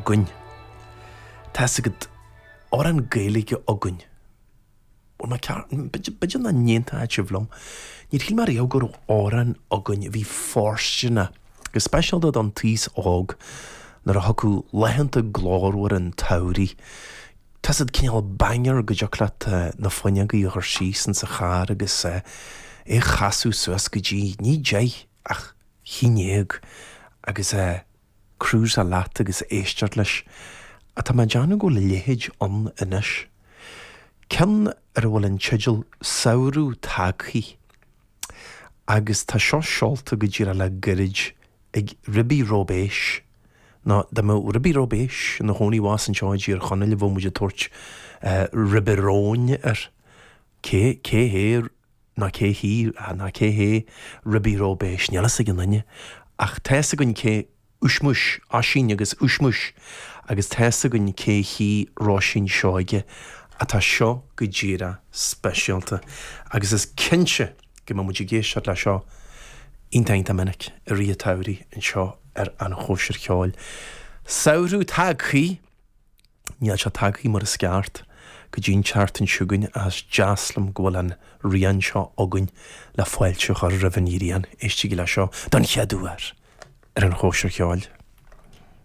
againn. Tá's agat, amhrán Gaeilge againn. Bhuel, má ceart, b'fhéidir nach n-aontóidh sibh liom, níor shíl mé riamh go raibh amhrán againn a bhí fóirsteanach, go speisialta don t-aos óg, nuair a thiocfadh laethanta glórmhara an tsamhraidh. Tá's agat, cineál banger go dtiocfadh leat na fuinneogaí a chur síos insa charr agus é a chasadh suas go dtí, ní deich, ach haon dhéag agus é cruiseáil leat agus éisteacht leis. Ach tá mé ag déanamh go bhfuil a leithéid ann anois. Ceann ar a bhfuil an teideal Samhradh Tagthaí. Agus tá seo seolta go díreach le gairid ag Ribi Róibéis. Nó dá mbeadh Ribi Róibéis ina chónaí abhus anseo i dTír Chonaill bheadh muid ag tabhairt Ribi Róin air. Cé, cé hé Ná cé hí, ná cé hé Ribi Róibéis, níl fhios ag aon duine. Ach tá fhios againn cé Uismuis, Oisín agus Uismuis, agus tá fhios againn cé hí Róisín Seoige, ach tá seo go díreach speisialta. Agus is cinnte go mbeidh muid ag éisteacht le seo iontach iontach minic i rith an tsamhraidh anseo ar An Chóisir Cheoil. Samhradh tagthaí! Níl sé tagthaí mar is ceart go dtí an tseachtain seo chugainn ach is deas liom go bhfuil an rian seo againn le fáilte a chur roimh an ghrian. Éistigí le seo don chéad uair ar an Chóisir Cheoil.